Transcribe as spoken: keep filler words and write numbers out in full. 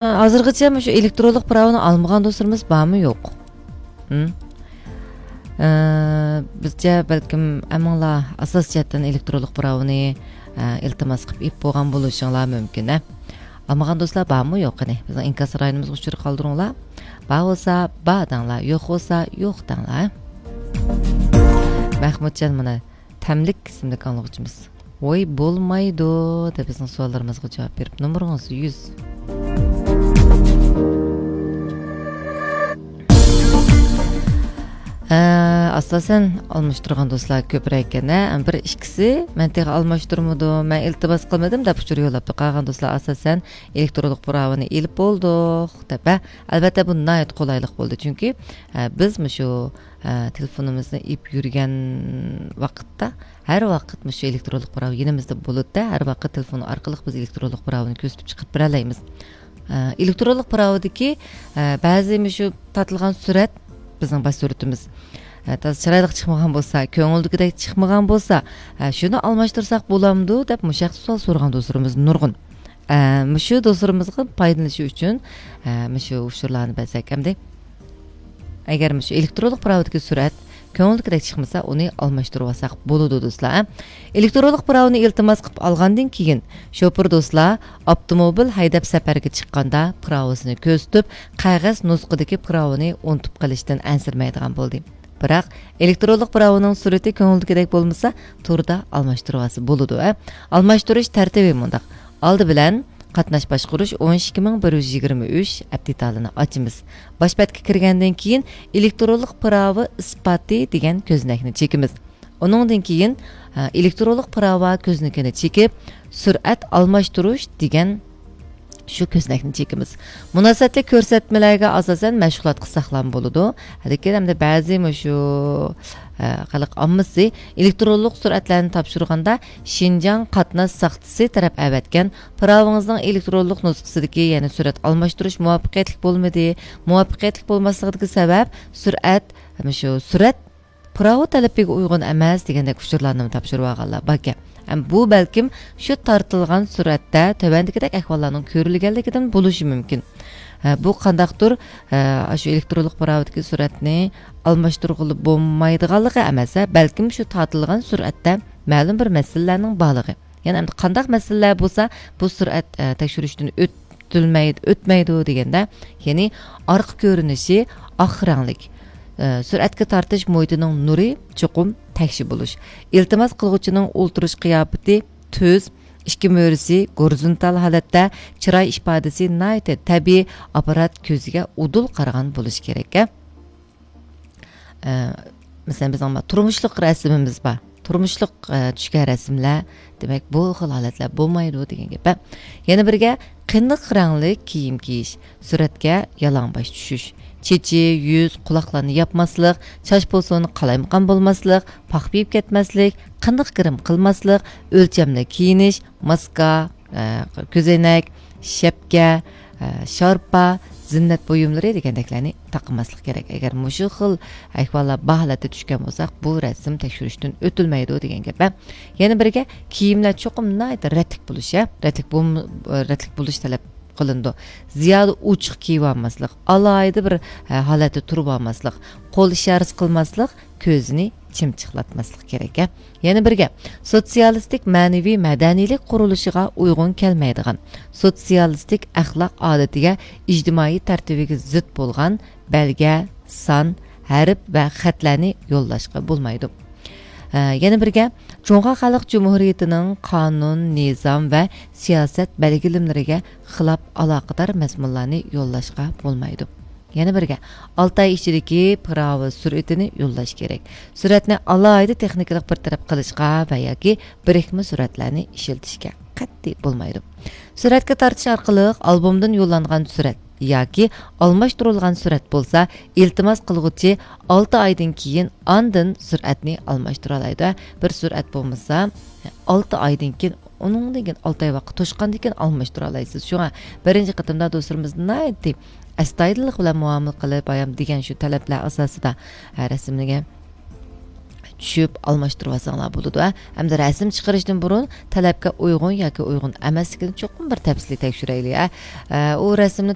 ھازىرغىچە مۇشۇ ئېلېكترونلۇق پىراۋىنى ئالمىغان دوستلىرىمىز بارمۇ يوق؟ ھىم؟ ئە، بىزچە بەلكىم ھەممىڭلار ئاساسىي جەھەتتىن ئېلېكترونلۇق پىراۋىنى، ئە، ئىلتىماس قىلىپ ئېلىپ بولغان بولۇشۇڭلار مۇمكىن، ھە؟ ئالمىغان دوستلار بارمۇ يوق؟ قېنى، بىزنىڭ ئىنكاس رايونىمىزغا ئۇچۇر قالدۇرۇڭلار. بار بولسا بار دەڭلار، يوق بولسا يوق دەڭلار، ھە؟ مەخمۇتجان مانا تەملىك ئىسىملىك ئاڭلىغۇچىمىز. ۋوي، بولمايدۇ، دەپ بىزنىڭ سوئاللىرىمىزغا جاۋاب بېرىپ، نومۇرىڭىز يۈز. ھە، ئاساسەن ئالماشتۇرغان دوستلار كۆپرەك ئىكەن، ھە؟ بىر ئىككىسى، مەن تېخى ئالماشتۇرمىدىم، مەن ئىلتىماس قىلمىدىم، دەپ ئۇچۇر يوللاپتۇ. قالغان دوستلار ئاساسەن ئېلېكترونلۇق پىراۋىنى ئېلىپ بولدۇق، دەپ، ھە؟ ئەلۋەتتە، بۇ ناھايىتى قولايلىق بولدى، چۈنكى، ھە، بىز مۇشۇ ئە، تېلېفونىمىزنى ئېلىپ يۈرگەن ۋاقىتتا، ھەر ۋاقىت مۇشۇ ئېلېكترونلۇق پىراۋا يېنىمىزدا بولىدۇ، ھەر ۋاقىت تېلېفون ئارقىلىق بىز ئېلېكترونلۇق پىراۋىنى كۆرسىتىپ چىقىرىپ بېرەلەيمىز. ئە، ئېلېكترونلۇق پىراۋىدىكى، ئە، بەزى مۇشۇ تارتىلغان سۈرەت، بىزنىڭ باش سۈرىتىمىز، ئە، تازا چىرايلىق چىقمىغان بولسا، كۆڭۈلدىكىدەك چىقمىغان بولسا، ئە، شۇنى ئالماشتۇرساق بولامدۇ دەپ مۇشۇ ھەقتە سوئال سورىغان دوستلىرىمىز نۇرغۇن. ئە، مۇشۇ دوستلىرىمىزغا پايدىلىنىشى ئۈچۈن، ئە، مۇشۇ ئۇچۇرلارنى بەرسەك ئەمدى. ئەگەر مۇشۇ ئېلېكترونلۇق پىراۋىدىكى سۈرئەت كۆڭۈلدىكىدەك چىقمىسا، ئۇنى ئالماشتۇرۇۋالساق بولىدۇ، دوستلار. ئېلېكترونلۇق پىراۋىنى ئىلتىماس قىلىپ ئالغاندىن كېيىن، شوپۇر دوستلار ئاپتوموبىل ھەيدەپ سەپەرگە چىققاندا پىراۋىسىنى كۆرسىتىپ، قەغەز نۇسخىدىكى پىراۋىنى ئۇنتۇپ قېلىشتىن ئەنسىرىمەيدىغان بولدى. بىراق، ئېلېكترونلۇق پىراۋىنىڭ سۈرئىتى كۆڭۈلدىكىدەك بولمىسا، توردا ئالماشتۇرۇۋالسا بولىدۇ، ھە؟ ئالماشتۇرۇش تەرتىپى مۇنداق. ئالدى بىلەن، قاتناش باشقۇرۇش ئون ئىككى مىڭ بىر يۈز يىگىرمە ئۈچ ئەپ دېتالىنى ئاچىمىز. باش بەتكە كىرگەندىن كېيىن، ئېلېكترونلۇق پىراۋا ئىسپاتى دېگەن كۆزنەكنى چېكىمىز. ئۇنىڭدىن كېيىن، ئە، ئېلېكترونلۇق پىراۋا كۆزنىكىنى چېكىپ، سۈرئەت ئالماشتۇرۇش دېگەن شۇ كۆزنەكنى چېكىمىز. مۇناسىۋەتلىك كۆرسەتمىلەرگە ئاساسەن مەشغۇلات قىلساقلام بولىدۇ. لېكىن ئەمدى بەزى مۇشۇ، ئە، خەلق ئاممىسى ئېلېكترونلۇق سۈرئەتلەرنى تاپشۇرغاندا شىنجاڭ قاتناش ساقچىسى تەرەپ ئەۋەتكەن پىراۋىڭىزنىڭ ئېلېكترونلۇق نۇسخىسىدىكى، يەنى سۈرئەت ئالماشتۇرۇش مۇۋەپپەقىيەتلىك بولمىدى. مۇۋەپپەقىيەتلىك بولماسلىقىدىكى سەۋەب سۈرئەت، مۇشۇ سۈرئەت پىراۋا تەلىپىگە ئۇيغۇن ئەمەس دېگەندەك ئۇچۇرلارنىمۇ تاپشۇرۇۋالغانلار باركەن. ھەم بۇ بەلكىم شۇ تارتىلغان سۈرئەتتە تۆۋەندىكىدەك ئەھۋاللارنىڭ كۆرۈلگەنلىكىدىن بولۇشى مۇمكىن. ھە، بۇ قانداقتۇر، ھە، ئاشۇ ئېلېكترونلۇق پىراۋىدىكى سۈرئەتنى ئالماشتۇرغىلى بولمايدىغانلىقى ئەمەس، ھە، بەلكىم شۇ تارتىلغان سۈرئەتتە مەلۇم بىر مەسىلىلەرنىڭ بارلىقى. يەنى ئەمدى قانداق مەسىلىلەر بولسا، بۇ سۈرئەت، ئە، تەكشۈرۈشتىن ئۆتۈلمەي-، ئۆتمەيدۇ دېگەندە، يەنى ئارقا كۆرۈنۈشى ئاق رەڭلىك، ئە، سۈرئەتكە تارتىش مۇھىتىنىڭ نۇرى چوقۇم تەكشى بولۇش، ئىلتىماس قىلغۇچىنىڭ ئولتۇرۇش قىياپىتى تۈز، ئىككى مۈرىسى گورىزونتال ھالەتتە، چىراي ئىپادىسى ناھايىتى تەبىئىي، ئاپپارات كۆزىگە ئۇدۇل قارىغان بولۇشى كېرەك. ئە، مەسىلەن، بىزنىڭ تۇرمۇشلۇق رەسىمىمىز بار. تۇرمۇشلۇق، ئە، چۈشكەن رەسىملەر، دېمەك، بۇ خىل ھالەتلەر بولمايدۇ دېگەن گەپ. يەنە بىرگە، قېنىق رەڭلىك كىيىم كىيىش، سۈرەتكە يالاڭباش چۈشۈش، چېچى، يۈز، قۇلاقلارنى ياپماسلىق، چاچ بولسۇن قالايمىقان بولماسلىق، پاخپا يېيىپ كەتمەسلىك، قېنىق گىرىم قىلماسلىق، ئۆلچەملىك كىيىنىش، ماسكا، ئە، كۆزەينەك، شەپكە، ئە، شارپا، زىننەت بۇيۇملىرى دېگەندەكلەرنى تاقىماسلىق كېرەك. ئەگەر مۇشۇ خىل ئەھۋاللار بار ھالەتتە چۈشكەن بولساق، بۇ رەسىم تەكشۈرۈشتىن ئۆتۈلمەيدۇ دېگەن گەپ. يەنە بىرگە، كىيىملەر چوقۇم ناھايىتى رەتلىك بولۇشى، رەتلىك بولم-، رەتلىك بولۇش تەلەپ قىلىنىدۇ. زىيادە ئوچۇق كىيىۋالماسلىق، ئالاھىدە بىر، ئە، ھالەتتە تۇرۇۋالماسلىق، قول ئىشارىسى قىلماسلىق، كۆزىنى چىمچىقلاتماسلىق كېرەك. يەنە بىرگە، سوتسىيالىستىك مەنىۋى مەدەنىيلىك قۇرۇلۇشىغا ئۇيغۇن كەلمەيدىغان، سوتسىيالىستىك ئەخلاق ئادىتىگە، ئىجتىمائىي تەرتىپىگە زىت بولغان بەلگە، سان، ھەرپ ۋە خەتلەرنى يوللاشقا بولمايدۇ. ھە، يەنە بىرگە، جۇڭخۇا خەلق جۇمھۇرىيىتىنىڭ قانۇن، نىزام ۋە سىياسەت بەلگىلىمىلىرىگە خىلاپ ئالاقىدار مەزمۇنلارنى يوللاشقا بولمايدۇ. يەنە بىرگە، ئالتە ئاي ئىچىدىكى پىراۋا سۈرئىتىنى يوللاش كېرەك. سۈرئەتنى ئالاھىدە تېخنىكىلىق بىر تەرەپ قىلىشقا ۋە ياكى بىرىكمە سۈرئەتلەرنى ئىشلىتىشكە قەتئىي بولمايدۇ. سۈرئەتكە تارتىش ئارقىلىق ئالبومدىن يوللانغان سۈرئەت ياكى ئالماشتۇرۇلغان سۈرئەت بولسا، ئىلتىماس قىلغۇچى ئالتە ئايدىن كېيىن ئاندىن سۈرئەتنى ئالماشتۇرالايدۇ. بىر سۈرئەت بولمىسا، ئالتە ئايدىن كېيىن، ئۇنىڭدىن كېيىن ئالتە ئاي ۋاقىت توشقاندىن كېيىن ئالماشتۇرالايسىز. شۇڭا بىرىنچى قېتىمدا دوستلىرىمىز ناھايىتى ئەستايىدىللىق بىلەن مۇئامىلە قىلىپ، بايام دېگەن شۇ تەلەپلەر ئاساسىدا، ھە، رەسىملىگەن چۈشۈپ ئالماشتۇرۇۋالساڭلار بولىدۇ. ھە، ئەمدى رەسىم چىقىرىشتىن بۇرۇن تەلەپكە ئۇيغۇن ياكى ئۇيغۇن ئەمەسلىكىنى چوقۇم بىر تەپسىلىي تەكشۈرەيلى. ھە، ئۇ رەسىمنى